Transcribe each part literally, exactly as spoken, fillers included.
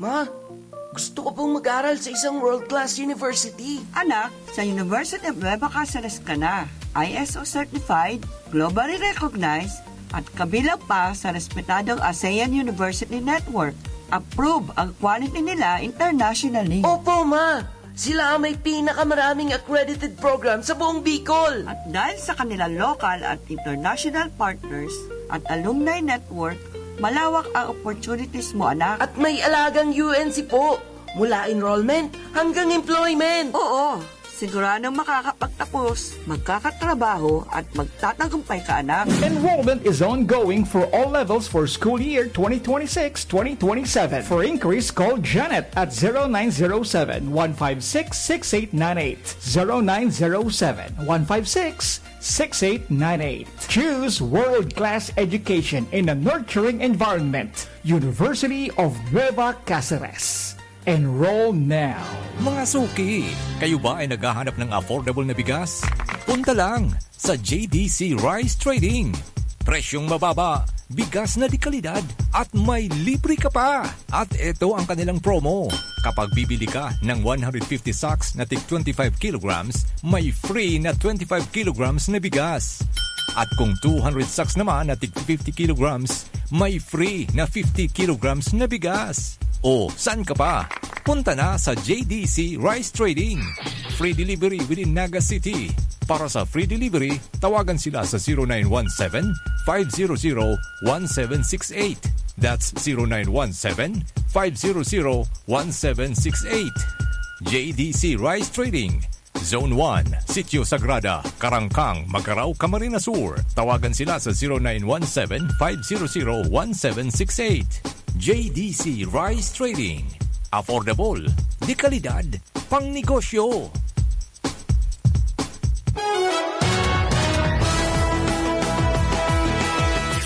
Ma, gusto ko pong mag-aral sa isang world-class university. Anak, sa University of Nueva Caceres ka na. I S O certified, globally recognized, at kabilang pa sa respetadong ASEAN University Network. Approve ang quality nila internationally. Opo, ma! Sila ang may pinakamaraming accredited program sa buong Bicol. At dahil sa kanilang local at international partners at alumni network, malawak ang opportunities mo, anak. At may alagang U N C po, mula enrollment hanggang employment. Oo, siguradong makakapagtapos, magkakatrabaho at magtatagumpay ka, anak. Enrollment is ongoing for all levels for school year twenty twenty-six twenty twenty-seven. For inquiries, call Janet at zero nine zero seven, one five six, six eight nine eight. Zero nine zero seven, one five six, six eight nine eight. Choose world-class education in a nurturing environment. University of Nueva Caceres. Enroll now. Mga suki, kayo ba ay naghahanap ng affordable na bigas? Punta lang sa J D C Rice Trading. Presyong mababa, bigas na de kalidad, at may libre ka pa. At eto ang kanilang promo. Kapag bibili ka ng one hundred fifty sacks na tig twenty-five kilograms, may free na twenty-five kilograms na bigas. At kung two hundred sacks naman na tig fifty kilograms, may free na fifty kilograms na bigas. O, saan ka pa? Punta na sa J D C Rice Trading. Free delivery within Naga City. Para sa free delivery, tawagan sila sa zero nine one seven, five zero zero, one seven six eight. That's zero nine one seven, five zero zero, one seven six eight. J D C Rice Trading, Zone one, Sitio Sagrada, Karangkang, Magarao, Camarines Sur. Tawagan sila sa zero nine one seven, five zero zero, one seven six eight. J D C Rice Trading. Affordable, de kalidad, pang negosyo.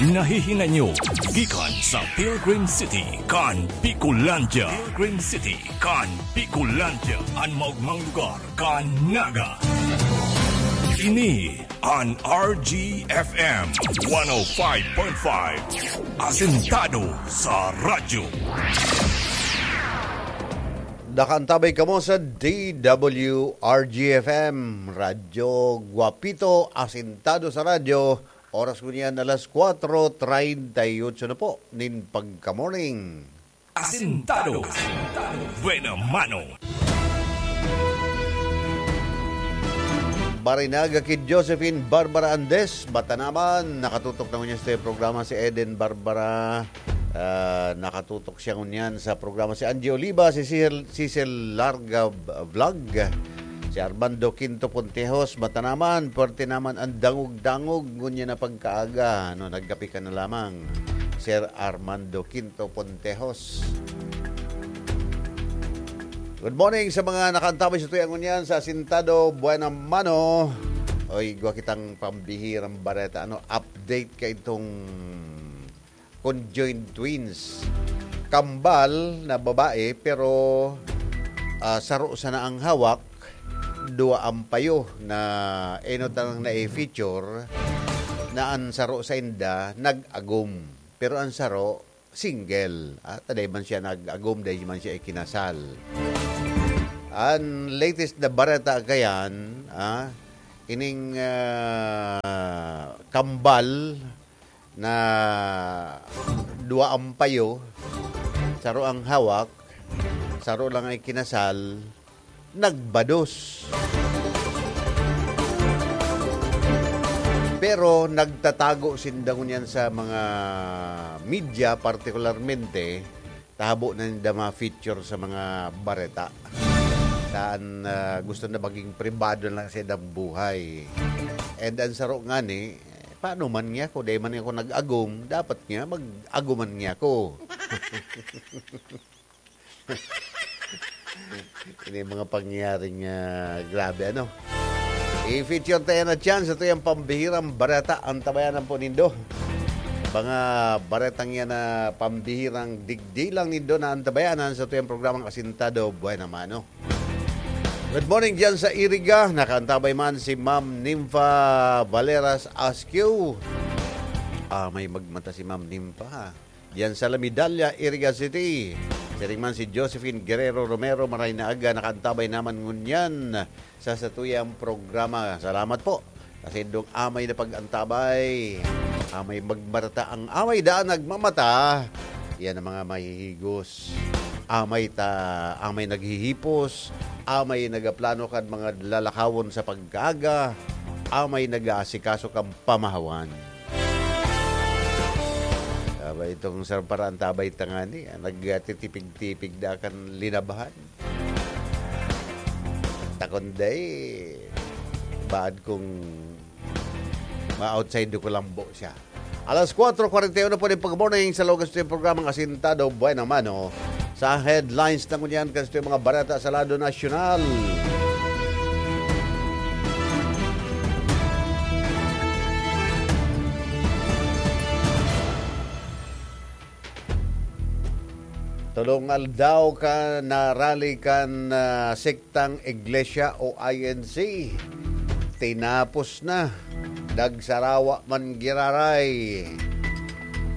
Nahihinay nyo gikan sa Pilgrim City kan Bicolandia. Pilgrim City kan Bicolandia, an maogmang lugar kan Naga. Ini an R G F M one oh five point five, asentado sa radyo. Nakaantabay kamo sa D W R G F M, Radyo Guapito, asentado sa radyo. Oras ko niyan, alas kwatro treinta y ocho na po nin pagka-morning. Asentado. Buena mano. Barinaga ki Josephine Barbara Andes, Batanaman, nakatutok na ngunyan sa programa si Eden Barbara. Ah, nakatutok siya ngunyan sa programa si Angie Oliva, si Cecil, Cecil Larga Vlog, si Armando Quinto Pontejos, Batanaman, pwerte naman ang dangog-dangog ngunyan na pagkaaga. No, nagkape ka na lamang, Sir Armando Quinto Pontejos. Good morning sa mga nakaantabay sa tuyang ngunyan sa Asentado Buena Mano. Oy, igwa kitang pambihirang bareta. Ano, update ka itong conjoined twins. Kambal na babae, pero, ah, saro sana ang hawak, dua ang payo na enot ang na-feature, na ang saro sa inda nag-agom. Pero ang saro, single. Ah, ta dai man siya nag-agom, dai man siya ikinasal. Ang latest na bareta kayan, ah, ining, ah, kambal na dua ang payo, saro ang hawak, saro lang ang ikinasal, nagbados. Pero nagtatago sinda ngunyan sa mga media, partikularmente, tahabo na ninda ma-feature sa mga bareta. Saan, ah, gusto na maging pribado lang sa ilang buhay. And ang saro ngani, paano man niya ako? Dai man ako nag-agom, dapat nga mag-agoman niya ako. Ini mga pangyayaring, ah, grabe, ano? I-feature tayo na chance. Ito yung pambihirang bareta. Antabayanan po nindo. Mga baretang yan na pambihirang digdi lang nindo na antabayanan sa tuyang programang Asintado Buena Mano. Good morning dyan sa Iriga. Nakaantabay man si Ma'am Nympha Valeras Askew. Ah, may magmata si Ma'am Nympha, ha? Diyan sa La Medalla, Iriga City. Siring man si Josephine Guerrero Romero, maray na aga, nakaantabay naman ngunyan sa satuyang programa. Salamat po. Kasi dong amay na pag-antabay, amay magmarata ang amay daan nagmamata. Yan ang mga mahihigos. Amay ta, amay naghihipos, amay nagaplano kan mga lalakawon sa pagkaaga, amay nag-aasikaso kan pamahawan. Aba, itong sarang paraan tabay tangani, ah, nagtitipig-tipig na kan linabahan. Takon day, baad kung ma-outside ko lambo siya. Alas kwatro kwarenta y uno po nin pag-morning sa lugar sa programang Asintado Buena Mano. Sa headlines na ngunyan, kasto yung mga barata sa lado nasyonal. Tolong aldaw ka na rally kan, ah, sektang iglesia o I N C. Tinapos na. Dagsarawa man giraray.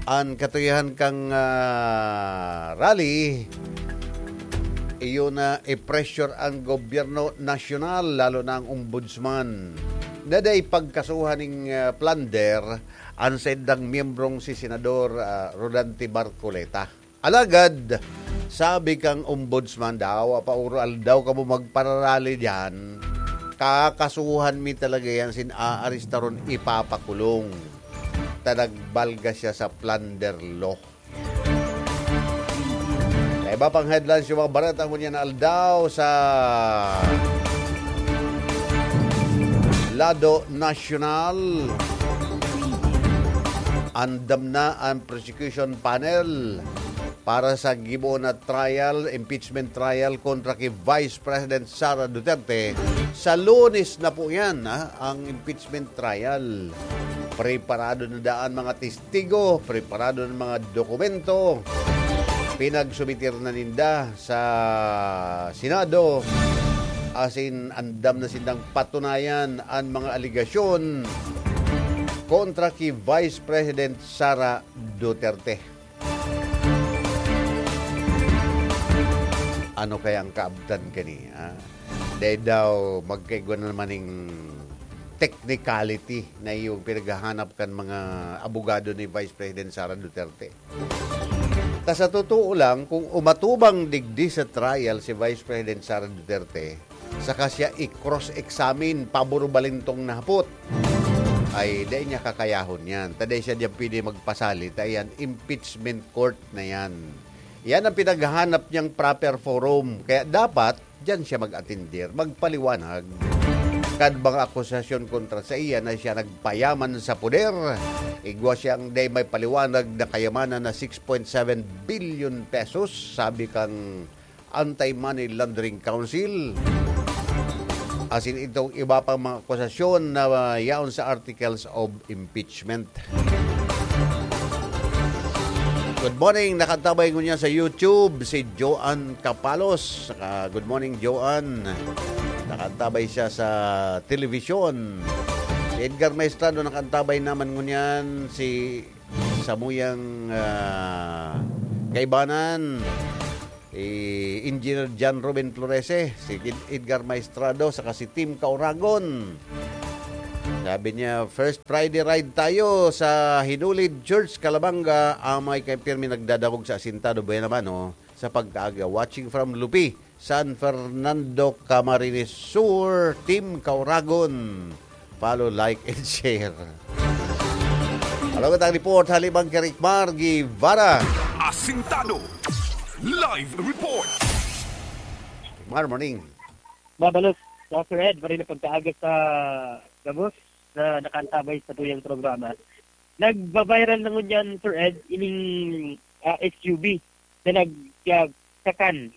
An katuyahan kang, ah, rally, iyo na i-pressure ang gobyerno nasyonal, lalo na ang ombudsman, na dai pagkasuhan ning, ah, plunder an saindang miyembrong si Senador, ah, Rodante Marcoleta. Alagad, sabi kang ombudsman, "Dawa pa uro aldaw kamo magpararali diyan, kakasuhan mi talaga yan, sin aaristaron, ipapakulong. Ta nagbalga siya sa plunder law." Sa iba pang headlines, yung mga bareta ngunyan na aldaw sa lado nasyonal, andam na ang prosecution panel para sa gibo na trial, impeachment trial kontra ki Vice President Sara Duterte. Sa Lunes na po yan, ha, ang impeachment trial. Preparado na daan mga testigo, preparado na mga dokumento. Pinagsumitir na ninda sa Senado, asin andam na sindang patunayan an mga alegasyon kontra ki Vice President Sara Duterte. Ano kaya ang kaabtan kani, ah? Dai daw magkaigwa na naman ning technicality na iyong pinaghahanap kan mga abogado ni Vice President Sara Duterte. Ta sa totoo lang, kung umatubang digdi sa trial si Vice President Sara Duterte, saka siya i-cross-examine, pabor-balintong na hapot, ay dai niya kakayahon yan. Ta dai siya diyan pwede magpasali, ta yan, impeachment court na yan. Yan ang pinaghahanap niyang proper forum. Kaya dapat, diyan siya mag-atindir, magpaliwanag kan mga akusasyon kontra sa iya na siya nagpayaman sa poder. Igwa siyang dai may paliwanag na kayamanan na six point seven billion pesos, sabi kang Anti-Money Laundering Council. Asin itong iba pang mga akusasyon na, ah, yaon sa articles of impeachment. Good morning, nakaantabay ngunyan sa YouTube si Joan Capalos. Saka, good morning, Joan. Nakaantabay siya sa telebisyon. Si Edgar Maestrado nakaantabay naman ngunyan, si samuyang, ah, kaibanan, si Engineer John Ruben Florese, si Ed-, Edgar Maestrado, saka si Tim Kauragon. Sabi niya, "First Friday ride tayo sa Hinulid Church, Calabanga. Amay kay pirmi nagdadangog sa Asintado Buena Mano sa pagkaaga. Watching from Lupi, San Fernando, Camarines Sur, Team Kauragon. Follow, like, and share." Halagot ang report, halibang kay Ricmar Guevara. Asintado. Live report. Ricmar, morning. Mabalos, Sir Ed, maray na pagkaaga sa gabos na nakaantabay sa tuyang programa. Nagba-viral na ngunyan, Sir Ed, ining, ah, S U V na nag-, ah, sakan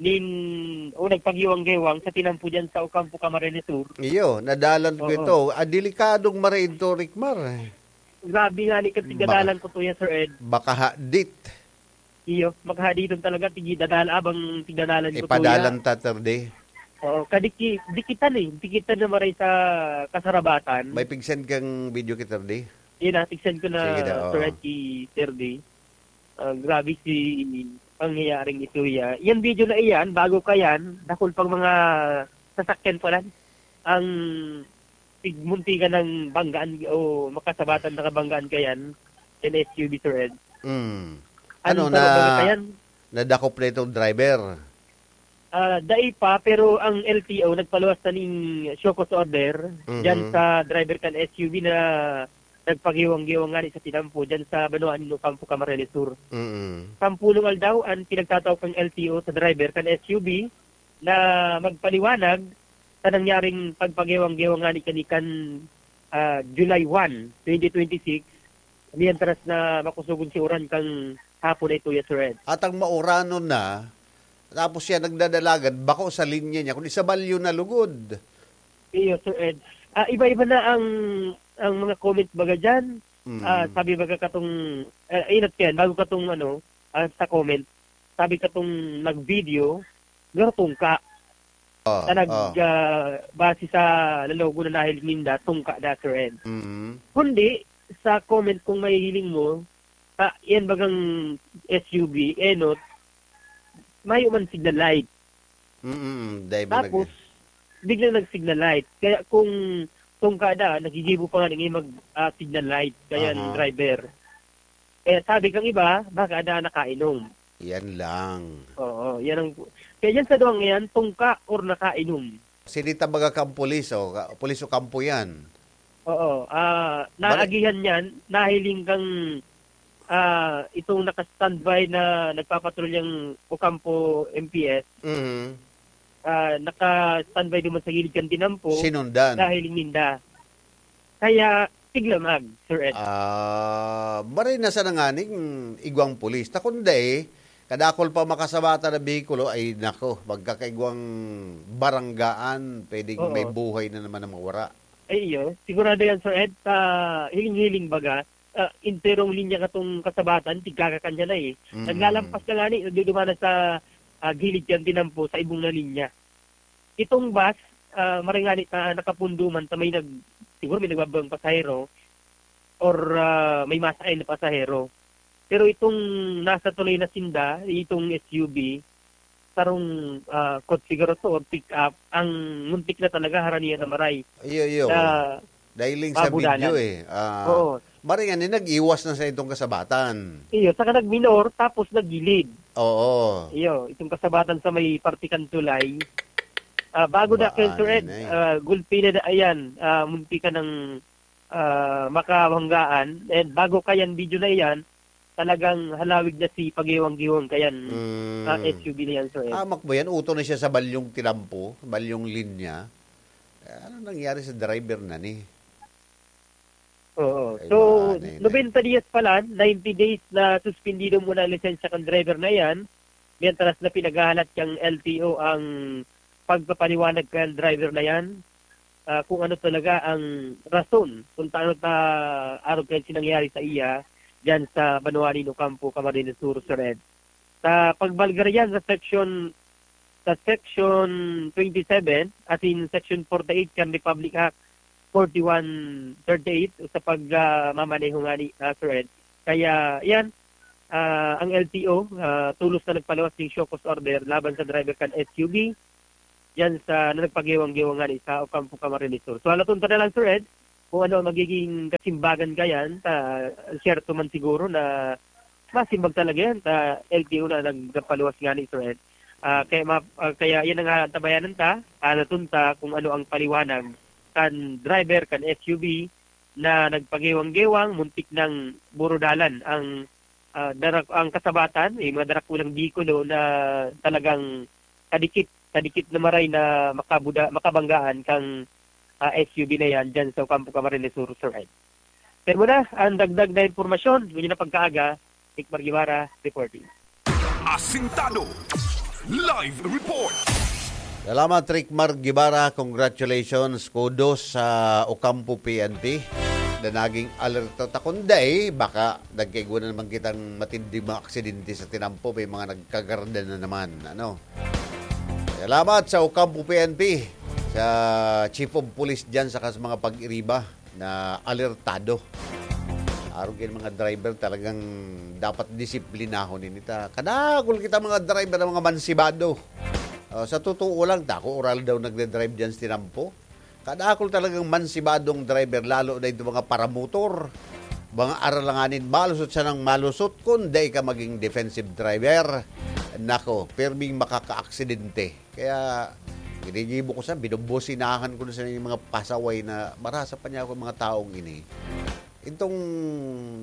nin, o nagpagiwang-gewang sa tinampo diyan sa Ocampo, Camarines Sur. Iyo, nadalan ko Oo. ito. Ah, delikadong mare ito, Ricmar, eh. Grabe nga ni, kasi Baka gadalan ko to yan, Sir Ed. Baka hadit. Iyo, makahaditon talaga, tigi dadal-, abang tigdadalan ko to Ipadalan yan. ta, Sir D. Oo, kadiki-, dikitan eh. Dikitan na maray sa kasarabatan. May pig-send kang video kay Sir D? Yun na, pig-send ko na, Sige daw, Sir oo. Ed, kay Sir D. Ah, grabe si Nangyayaring ito ya. Yan video na iyan, bago ka yan, dakul pang mga sasakyan pa lang ang tig-, muntikan ng banggaan o makasabatan na kabanggaan ka yan, yan S U V, Sir Ed. Mm. Ano Ano, sa na, lugar na yan? Nadakop na itong driver? Ah, dai pa, pero ang L T O nagpaluwas na ning show cause order Mhm. dyan sa driver kan S U V na nagpagiwang-giwang ngani sa tinampo dyan sa banwaan nin Ocampo, Camarines Sur. Mm. Sampulong aldaw an pinagtatao kan L T O sa driver kan S U V na magpaliwanag sa nangyaring pagpagiwang-giwang ngani kani kan, ah, July one, twenty twenty-six, mientras na makusugon si uran kan hapon na ito, yes, Sir Ed. At ang mauranon na, tapos siya nagdadalagan, bako sa linya niya, kundi sa balyo na lugod. Iyo, Sir Ed. Ah, iba-iba na ang, ang mga comment baga dyan. Mm. Ah, sabi baga katong, ah, inot yan, bago katong ano, ah, sa comment, sabi katong nag-video, garo tungka. Ah, Na nag, ah. ah, base sa lalogo na nahiling ninda, tungka da, Sir Ed. Mm. Kundi, sa comment kung mahihiling mo, sa yan bagang S U V, enot, mayo man signal light. Mm, dai ba Tapos, nag- biglang nag-signal light. Kaya kung tungka da, nagigibo pa nga ng mag, ah, signal light. Kaya ang Aha. driver. Kaya sabi kang iba, baka da nakainom. Yan lang. Oo, yan ang, kaya yan sa duwang yan, tungka or nakainom. Sinita baga kang pulis, o, ka-, pulis o kampo yan? Oo, ah, Bali- naagihan yan, nahiling kang, ah, itong naka-standby na nagpapatrolyang Ocampo M P S, Mhm. ah, naka-standby duman sa gilid kan tinampo, Sinundan. nahiling ninda. Kaya, tiglamag, Sir Ed. Ah, maray na sana nganing igwang pulis. Ta kun dai, kadakol pa makasabatan na behikulo, ay nako, magkakaigwang baranggaan, pwedeng Oo. may buhay na naman ang mawara. Ay, iyo. Sigurado yan, Sir Ed, sa hiling-hiling baga, ah, enterong linya katong kasabatan, tigkakakan siya na eh. Mm. Naglalampas ka nga ni, nagdudumana sa, ah, gilid kan tinampo, sa ibong na linya. Itong bus, ah, maray ngani ta nakapundo man ta may nag-, siguro may nagbabawang pasahero or, ah, may masakay na pasahero. Pero itong nasa tulay na sinda, itong S U V, sarong, ah, kotse garo to or pick-up, ang muntik na talaga haranian na maray. Iyo, iyo. Na Dahil sa mabudalan. video eh. Ah, Oo. Maray ngani, nag-iwas na sa itong kasabatan. Iyo, saka nagminor, tapos naggilid. Oo. Iyo, itong kasabatan sa may parte kan tulay. Ah, bago na kayo, Sir Ed, Baanay na eh. ah, gulpi na da-, ayan, ah, munti ka ng, ah, makabanggaan. And bago kayan video na iyan, talagang halawig na si pagewang-gewang kayan, Mm. ah, S U V na yan, Sir Ed. Hamak ba yan? Uto na siya sa balyong tinampo, balyong linya. Eh, ano nangyari sa driver na ni? Oo. Ay, So, baanay na. nobenta dias pala, ninety days na suspendido muna ang lisensya kan driver na iyan, mientras na pinaghahalat kan L T O ang pagpapaliwanag kan driver na iyan, ah, kung ano talaga ang rason kung taano ta arog kan sinangyari sa iya diyan sa banwa nin Ocampo, Camarines Sur, Sir Ed. Sa pagbalga riyan sa section, sa section twenty-seven, as in section forty-eight kan Republic Act forty-one thirty-eight, sa pag, ah, mamaneho ngani, ah, Sir Ed. Kaya, yan, ah, ang L T O, ah, tolos na nagpaluwas ning show cause order laban sa driver kan S U V, yan sa, na nagpagewang-gewang ngani sa Ocampo, Camarines Sur. So, halaton ta na lang, Sir Ed, kung ano ang magiging kasimbagan kayan, ta, siyerto man siguro na masimbag talaga yan sa L T O na nag-, nagpaluwas ngani, Sir Ed. Ah, kaya ma-, ah, kaya yan ang aantabayanan ta, halaton ta kung ano ang paliwanag kan driver kan S U V na nagpagewang-gewang, muntik nang burudalan ang, ah, darak-, ang kasabatan, may mga darakulang bikulo na talagang kadikit, kadikit na maray na makabuda-, makabanggaan kang, ah, S U V na yan dyan sa Ocampo, Camarines Sur, Sir Ed. Pero muna, ang dagdag na impormasyon, ngunyan na pagkaaga, Nick Margivara, reporting. Asintado. Live report. Salamat, Rick Mar Guevara. Congratulations. Kudos sa Ocampo P N P na naging alerto ta. Kun dai, baka nagkaigwa na naman kitang matinding mga aksidente sa tinampo. May mga nagkagarda na naman. Ano? Salamat sa Ocampo P N P, sa Chief of Police dyan, saka sa mga pag-iriba na alertado. Arog yan, mga driver talagang dapat disiplinahon ini ta. Kadakul kita mga driver na mga mansibado. Ah, sa totoo lang, ta, ako oral daw nagde-drive diyan sa tinampo. Kadakul talagang mansibadong driver, lalo na itong mga paramotor. Mga aralanganin, malusot siya ng malusot kung dai ka maging defensive driver. Nako, pirming makakaaksidente. Kaya, ginigibo ko sa, binubusinahan ko na sa mga pasaway na marasa pa niya ako mga taong ini. Itong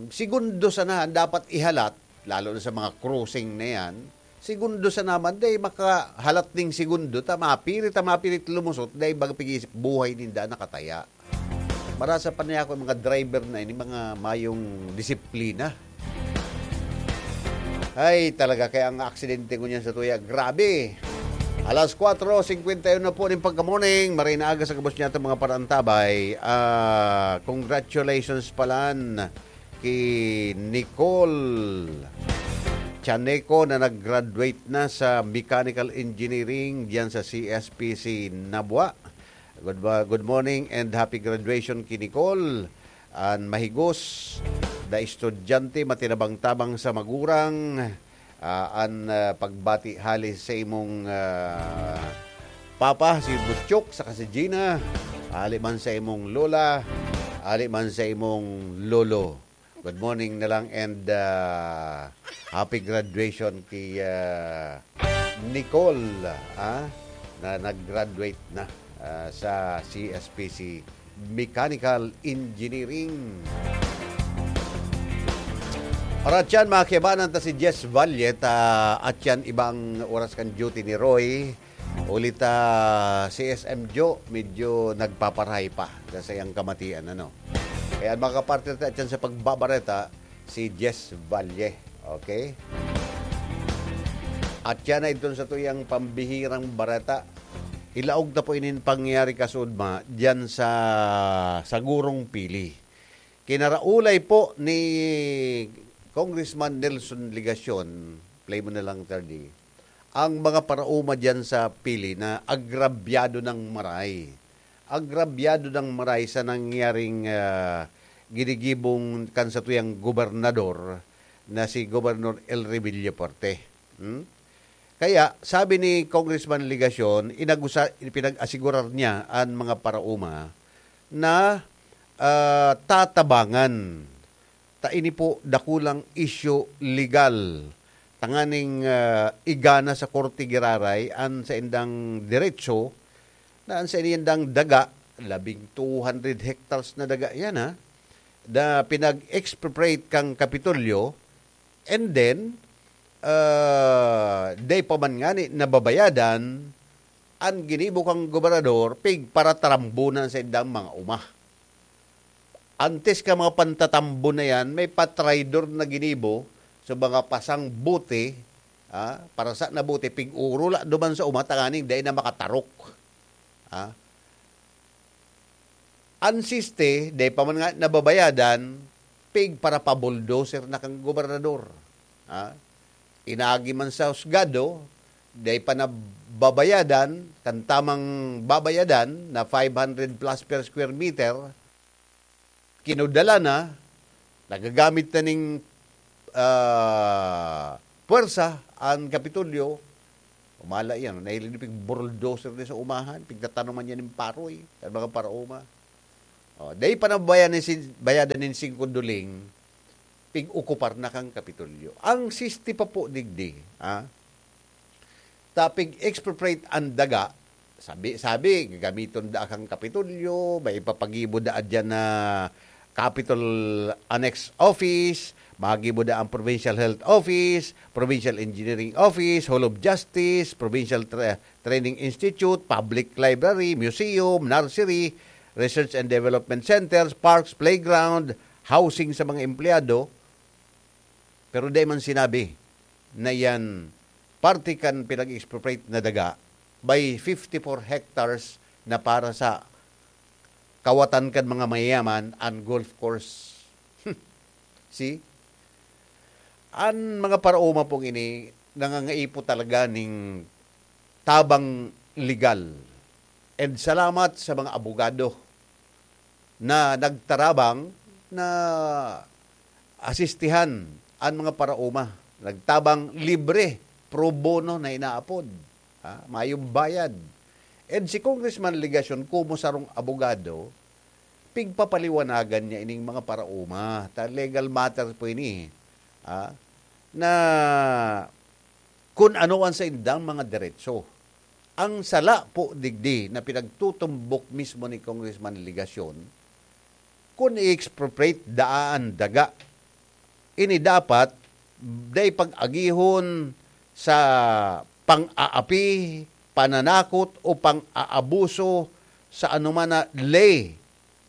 segundo sana ang dapat ihalat, lalo na sa mga crossing na yan, segundo sana man, dai makahalat ning segundo, ta mapirit, ta mapirit lumusot, dai baga pag-iisip, buhay ninda nakataya. Marasa pa niya ako, mga driver na ini, mga mayong disiplina. Ay, talaga, kaya ang aksidente ko niyan sa tuya, grabe. Alas kwatro singkwenta y uno na po ning pagka-morning. Maray na aga sa gabos niya itong mga parantabay. Ah, congratulations palan ki Nicole Chaneco na nag-graduate na sa Mechanical Engineering diyan sa C S P C Nabua. Good, mo- good morning and happy graduation ki Nicole. An mahigos na estudyante, matinabang-tabang sa magurang. Ah, an, ah, pagbati hali sa imong, ah, papa, si Butchok, saka si Gina. Hali man sa imong lola, hali man sa imong lolo. Good morning na lang and, ah, happy graduation kay, ah, Nicole, ah, na nag-graduate na, ah, sa C S P C Mechanical Engineering. Oras yan, mga kiyabanan, ta si Jess Valle, ta at yan, ibang oras kan duty ni Roy. Ulit, ah, si S M Joe, medyo nagpaparahay pa sa iyang kamatian, ano. Kaya, mga kapartner, ta at yan sa pagbabareta, si Jess Valle. Okay? At yan na itong sa tuyang pambihirang bareta. Ilaog ta po inin pangyayari kasudma diyan sa, sa Gurong Pili. Kinaraulay po ni Congressman Nelson Legacion, play mo na lang, Tardi, ang mga paraoma diyan sa Pili na agrabyado ng maray. Agrabyado ng maray sa nangyaring, ah, ginigibong kan satuyang gobernador na si Gobernador Elry Villafuerte. Hmm? Kaya, sabi ni Congressman Legacion, inagusa-, pinag-asigurar niya an mga paraoma na, ah, tatabangan. Ta ini po dakulang isyu legal. Tanganing, ah, igana sa korte giraray an saindang diretso na an saindang daga, labing two hundred hectares na daga yan, ha, na pinag-expropriate kang Kapitolyo, and then, ah, dai pa man ngani nababayadan an ginibo kang gobernador, pigparatarambona sa indang mga uma. Antes ka mga pantatambo na yan, may patraidor na ginibo sa mga pasang bote, ah, parasa na bote, pig-urula duman sa uma tanganing dai na makatarok. Ah. An siste, dai pa man nga nababayadan, pigparapabulldozer na kan gobernador. Ah. Inagi man sa husgado, dai pa nababayadan, kan tamang babayadan na five hundred plus per square meter, kinudala na, nagagamit na ning, ah, puwersa an Kapitolyo. Umala iyan, nahiling pig bulldozer na sa umahan, pigtatanuman niya nin paroy, kan mga paraoma. Oh, dai pa nabayadan nin sin-, bayadan nin singko duling, pig-okupar na kan Kapitolyo. Ang siste pa po digdi, ah, ta pig-expropriate an daga, sabi, sabi, gagamiton da kan Kapitolyo, may ipapagibo da diyan na Capitol Annex Office, magibo da ang Provincial Health Office, Provincial Engineering Office, Hall of Justice, Provincial Tra-, Training Institute, Public Library, Museum, Nursery, Research and Development Centers, Parks, Playground, housing sa mga empleyado, pero di man sinabi na yan parte kan pinag-expropriate na daga by fifty-four hectares na para sa kawatan kan mga mayayaman an golf course. See? An mga paraoma pong ini, nangangaipo talaga ning tabang legal. And salamat sa mga abogado na nagtarabang na asistihan an mga paraoma. Nagtabang libre, pro bono na inaapod. Ha? Mayong bayad. And si Congressman Legacion, komo sarong abogado, pigpapaliwanagan niya ining mga paraoma. Ta legal matter po ini. Ha? Na kun ano an saindang mga deretso. Ang sala po digdi na pinagtutumbok mismo ni Congressman Legacion, kun i-expropriate daa an daga, ini dapat dai pag-agihon sa pang-aapi, pananakot o pang-aabuso sa anoman na ley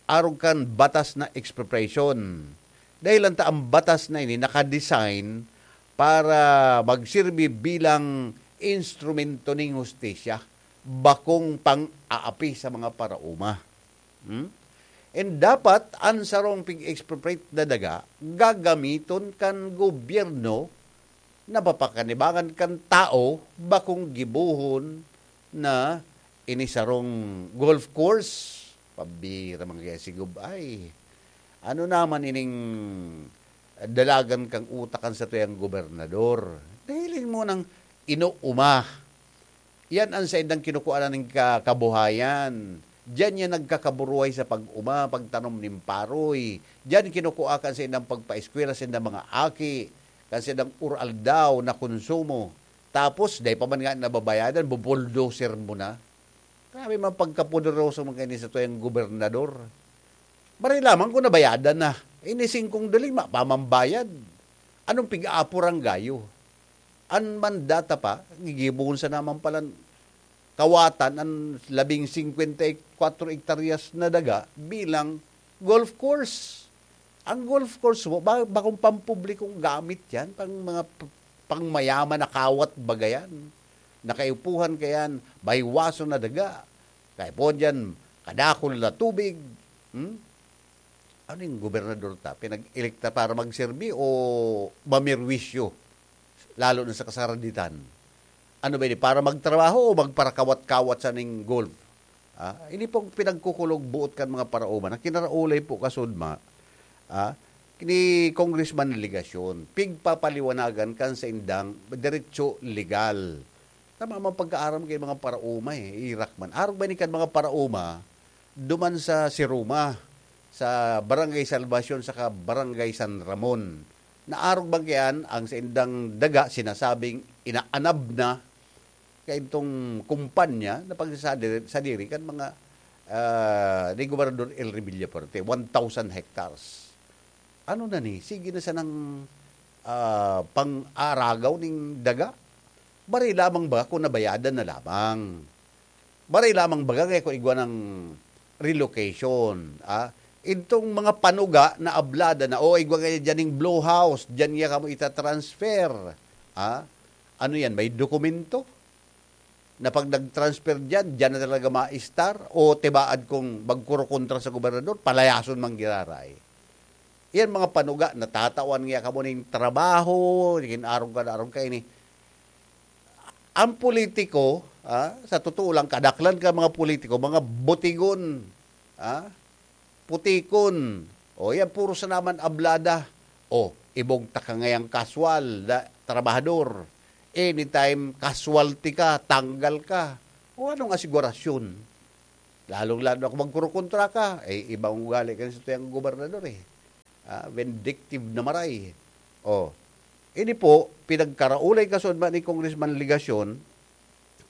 arog kan batas na expropriation. Dahil lang ta ang batas na ini nakadesign para magsirbi bilang instrumento ning hustisya, bakong pang-aapi sa mga paraoma. Hmm? And dapat, ang sarong pig-expropriate na daga, gagamiton kan gobyerno na papakanibangan kan tao, bakong gibohon na ini sarong golf course. Pabira man kaya si Gob, ay, ano naman ining dalagan kang utak kan satuyang gobernador? Nahiling mo nang inuuma. Yan ang saindang kinukuha na ning ka-, kabuhayan. Diyan yan nagkakaburuhay sa pag-uma, pagtanom nin paroy. Diyan kinukuha kan saindang pagpaeskwela, saindang mga aki, kan saindang uraldaw na konsumo. Tapos, dai pa man nga nababayadan, bubuldoser mo na. Grabe man pagkapoderoso man kaini satuyang gobernador. Maray lamang kung nabayadan na. Ini singkong dali, mapamambayad. Anong pig-aapurang gayo? An mandata pa, gigibohon sa naman palan kawatan an labing singkwenta y kwatro hektaryas na daga bilang golf course. Ang golf course mo, ba-, bakong pampublikong gamit yan, pang mga p-, pangmayaman na kawat baga yan. Nakaipuhan ka yan, baywaso na daga. Kaya po dyan, kadakol na tubig. Hmm? Ano yung gobernador ta? Pinag-elekta para magserbi o mamirwisyo? Lalo na sa kasaraditan. Ano ba ini? Para magtrabaho o magparakawat-kawat sa ning golf? Ah, ini pong pinagkukulog buot kan mga paraoma na kinaraulay po kasudma, ah, ni Congressman Legacion. Pigpapaliwanagan kan saindang derecho legal. Tama man pagkaaram kay mga paraoma eh, irak man. Arog ba ni kan mga paraoma, duman sa Siruma, sa Barangay Salvacion, saka Barangay San Ramon. Naarog bang kayan ang saindang daga sinasabing inaanab na kaitong kumpanya na pagsasadiri, sadiri kan mga, ah, ni Gobernador Elry Villafuerte, one thousand hectares. Ano na ni? Sige na sanang, ah, pang-aragaw ning daga? Bari lamang ba kung nabayadan na lamang? Bari lamang baga kaya kung igwa ng relocation, ah? Itong mga panuga na ablada na, "O, igwa kaya dyan yung Blue House, dyan niya kamo itatransfer." Ah? Ano yan? May dokumento? Na pag nag-transfer dyan, dyan na talaga ma-star? O tibaad kung magkurukontra sa gobernador, palayason man giraray? Yan mga panuga, natatawan niya kamo ning trabaho, naging arong ka na arong kaini. Ang politiko, ah, sa totoo lang, kadaklan ka mga politiko, mga butigon, ah, putikon. O, yan, puro sa naman ablada. O, ibog ta ka ngayang kaswal na trabahador. Anytime casualty ka, tanggal ka. O, anong asigurasyon? Lalong-lalo na kung magkurukontra ka, eh, ibang ugali ka sa tuyang gobernador eh. Ah, vindictive na maray. O, ini po, pinagkaraulay kasunod ni Congressman Legacion,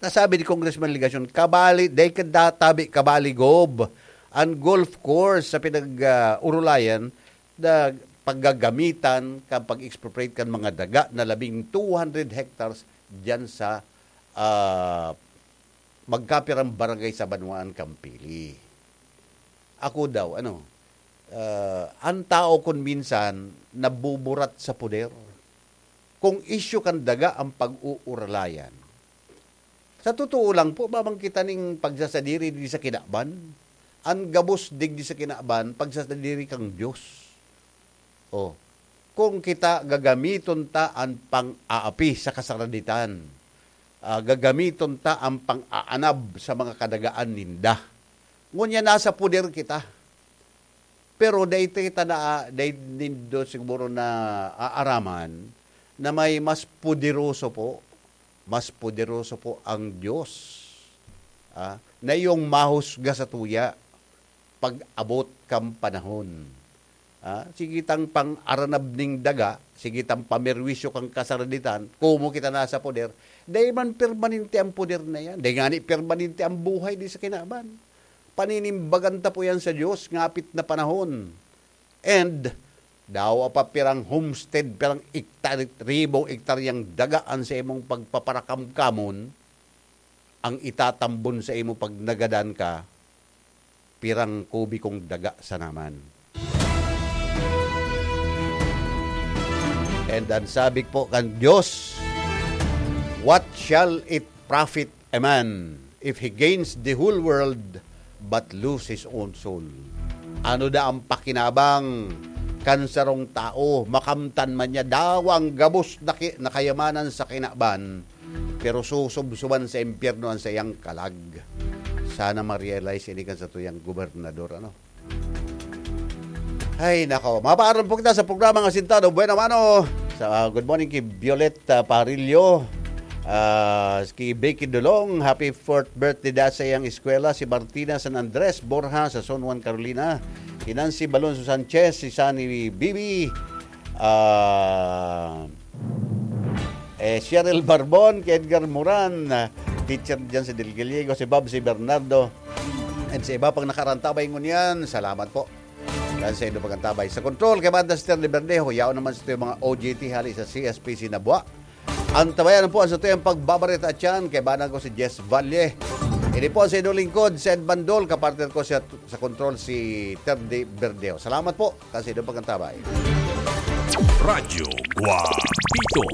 nasabi ni Congressman Legacion, kabali, dahil ka databi, kabali, Gob, ang golf course sa pinag-, ah, urulayan na paggagamitan kan pag-expropriate kan mga daga na labing two hundred hectares dyan sa, ah, magkapirang barangay sa Banwaan, Campili. Ako daw, ano, ah, ang tao kun minsan nabuburat sa poder. Kung isyu kan daga ang pag-uuralayan, sa totoo lang po, mamang kita ning pagsasadiri di sa kinaban. Ang gabos digdi sa kinaban, pagsasadiri kang Diyos. Oh, kung kita gagamiton ta an pang-aapi sa kasaraditan, ah, gagamiton ta an pang-aanab sa mga kadagaan ninda. Ngunyan nasa poder kita. Pero dai ta na, dai nindo siguro naaaraman na may mas poderoso po, mas poderoso po ang Diyos, ah, na iyong mahusga sa tuya pag-abot kan panahon. Ah, sige tang pang-aranab ning daga, sige tang pamerwisyo kan kasaraditan, komo kita nasa poder, dai man permanente ang poder na yan. Dai ngani permanente ang buhay di sa kinaban. Paninimbagan ta po yan sa Diyos, ngapit na panahon. And, dawa pa pirang homestead, pirang ektar-, ribong ektaryang daga an sa imong pagpaparakamkamon, ang itatambon sa imo pag nagadan ka, pirang kubikong daga sana man. And ang sabi po kan Diyos, "What shall it profit a man if he gains the whole world but lose his own soul?" Ano da ang pakinabang kan sarong tao, makamtan man niya dawang gabos na ki-, na kayamanan sa kinaban, pero susubsuban sa impyerno ang sayang kalag. Sana ma-realize ini kan satuyang gobernador, ano? Ay, nako. Mapaaram po kita sa programang Asintado. Buena mano. Sa, ah, good morning kay Violet, ah, Parillo. Ah, kay Becky Dolong, happy fourth birthday da sa iyang eskwela, si Martina San Andres Borja sa San Juan, Carolina. Kay Nancy Balonzo Sanchez, si Sunny Bibi, ah, eh, Cheryl Barbon, kay Edgar Moran, ah, teacher dyan sa Del Gallego, si Bob, si Bernardo, and sa iba pang nakarantabay ngunyan, salamat po. Kan sa indo pagantabay. Sa control, kay Banda Sister de Verdejo, yaon naman sa mga O J T hali sa C S P C Nabua. Antabayan po ang satuyang pagbabareta at yan, kay banang ko si Jess Valle. Ini po ang sa inyong lingkod, Sed Bandol, kapartner ko sa, sa control si Terdy Verdejo. Salamat po, kan sa inyong pagantabay. Radyo Guapito.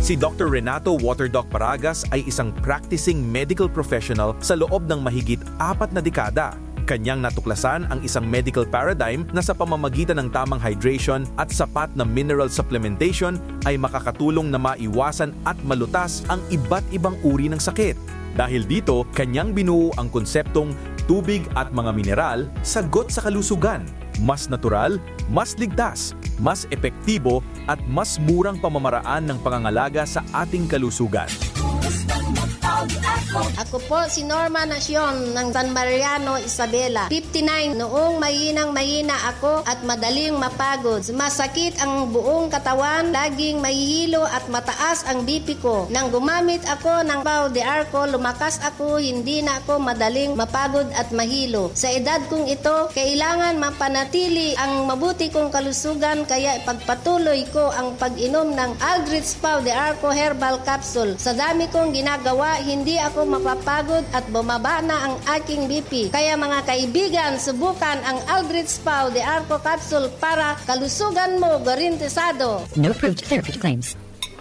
Si Doctor Renato Waterdoc Paragas ay isang practicing medical professional sa loob ng mahigit apat na dekada. Kanyang natuklasan ang isang medical paradigm na sa pamamagitan ng tamang hydration at sapat na mineral supplementation ay makakatulong na maiwasan at malutas ang iba't ibang uri ng sakit. Dahil dito, kanyang binuo ang konseptong tubig at mga mineral, sagot sa kalusugan. Mas natural, mas ligtas, mas epektibo, at mas murang pamamaraan ng pangangalaga sa ating kalusugan. Ako po si Norma Nacion ng San Mariano, Isabela, fifty-nine. Noong mahinang-mahina ako at madaling mapagod, masakit ang buong katawan, laging mahihilo at mataas ang B P ko. Nang gumamit ako ng Pau de Arco, lumakas ako, hindi na ako madaling mapagod at mahilo. Sa edad kong ito, kailangan mapanatili ang mabuti kong kalusugan, kaya ipagpatuloy ko ang pag-inom ng Aldrich Pau de Arco Herbal Capsule. Sa dami kong ginagawa, hindi ako mapapagod at bumaba na ang aking B P. Kaya, mga kaibigan, subukan ang Aldrich Pau de Arco Capsule para kalusugan mo garantisado. No approved therapeutic claims.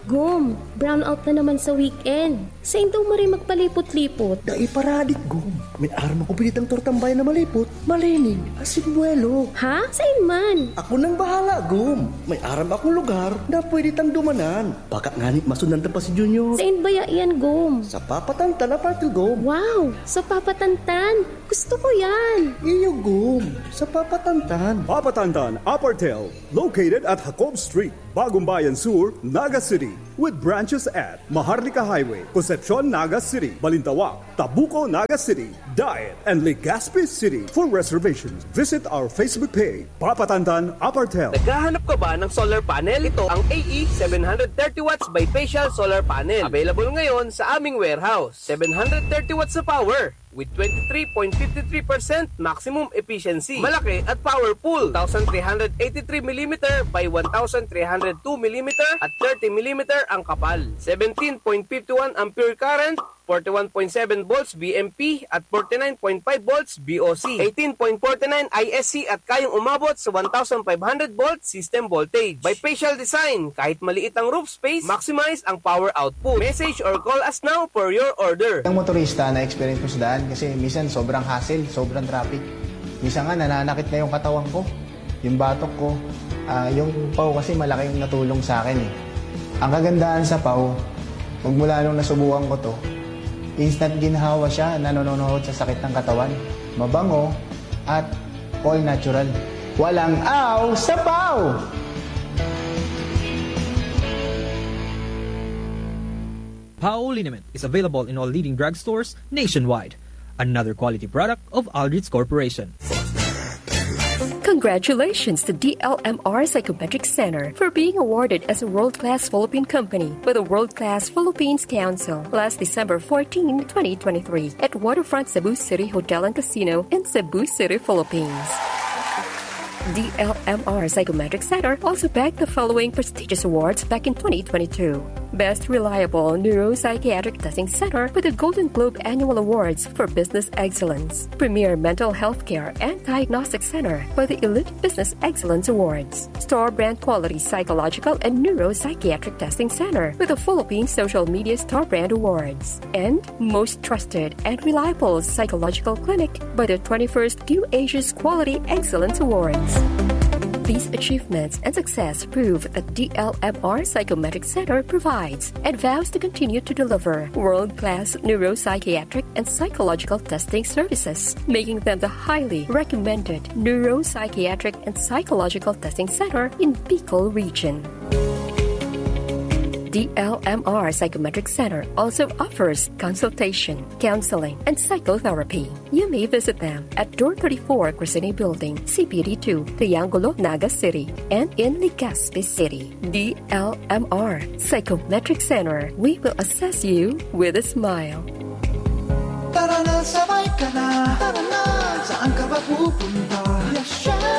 Gum, brownout na naman sa weekend. Sain daw maray magpalipot-lipot? Dai paradik, Gum. May aram ako pinitang tortang bayan na malipot, malinig, asin buwelo. Ha? Sain man? Ako nang bahala, Gum. May aram akong lugar na pwede tang dumanan. Baka ngani masundan ta pa si Junior. Sain baya yan, Gum? Sa Papa Tantan Apartel, Gum. Wow! Sa Papa Tantan! Gusto ko yan! Iyo, Gum. Sa Papa Tantan. Papa Tantan Apartel, located at Jacob Street, Bagong Bayan Sur, Naga City, with branches at Maharlika Highway, Concepcion, Naga City, Balintawak, Tabuco, Naga City, Daet, and Legazpi City. For reservations, visit our Facebook page, Papa Tantan Apartel. Naghahanap ka ba ng solar panel? Ito ang A E seven hundred thirty watts bifacial solar panel. Available ngayon sa aming warehouse. Seven hundred thirty watts na power with twenty-three point five three percent maximum efficiency. Malaki at powerful. Two thousand three hundred eighty-three millimeter by one thousand three hundred two millimeter at thirty millimeter ang kapal. Seventeen point five one ampere current, forty-one point seven volts V M P at forty-nine point five volts V O C, eighteen point forty-nine I S C at kayang umabot sa one thousand five hundred volts system voltage. Bifacial design, kahit maliit ang roof space, maximize ang power output. Message or call us now for your order. Ang motorista na experience ko sa daan kasi minsan sobrang hassle, sobrang traffic. Minsan nga nananakit na yung katawan ko, yung batok ko. Ah, yung Pau kasi malaking natulong sa akin eh. Ang kagandahan sa Pau, magmula nung nasubukan ko to, Instant ginhawa siya, nanononohod sa sakit ng katawan. Mabango at all natural. Walang aw, sabaw! Pao liniment is available in all leading drugstores nationwide. Another quality product of Aldrich Corporation. Congratulations to D L M R Psychometric Center for being awarded as a world-class Philippine company by the World Class Philippines Council last December fourteen, twenty twenty-three, at Waterfront Cebu City Hotel and Casino in Cebu City, Philippines. D L M R Psychometric Center also bagged the following prestigious awards back in twenty twenty-two. Best Reliable Neuropsychiatric Testing Center with the Golden Globe Annual Awards for Business Excellence, Premier Mental Health Care and Diagnostic Center by the Elite Business Excellence Awards, Star Brand Quality Psychological and Neuropsychiatric Testing Center with the Philippine Social Media Star Brand Awards, and Most Trusted and Reliable Psychological Clinic by the twenty-first Q Asia's Quality Excellence Awards. These achievements and success prove that D L M R Psychometric Center provides and vows to continue to deliver world-class neuropsychiatric and psychological testing services, making them the highly recommended neuropsychiatric and psychological testing center in Bicol region. D L M R Psychometric Center also offers consultation, counseling, and psychotherapy. You may visit them at Door thirty-four, Crescene Building, C P D two, Triangulo, Naga City, and in Legazpi City. D L M R Psychometric Center, we will assess you with a smile. Tara na, sabay ka na. Tara na, saan ka ba pupunta?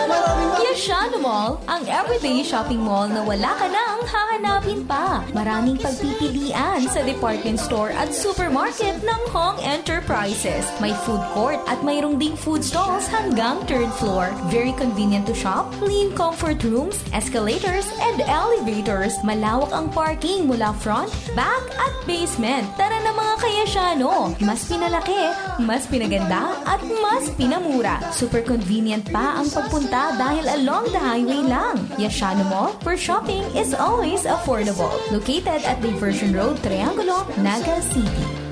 Maraming Yashano Mall, ang everyday shopping mall na wala ka nang hahanapin pa. Maraming pagpipilian sa department store at supermarket ng Hong Enterprises. May food court at mayroong ding food stalls hanggang third floor. Very convenient to shop, clean comfort rooms, escalators, and elevators. Malawak ang parking mula front, back, at basement. Tara na, mga kayasyano! Mas pinalaki, mas pinaganda, at mas pinamura. Super convenient pa ang pagpunta dahil along the highway lang. Yashano Mall, where shopping is always affordable. Located at Diversion Road, Triangulo, Naga City.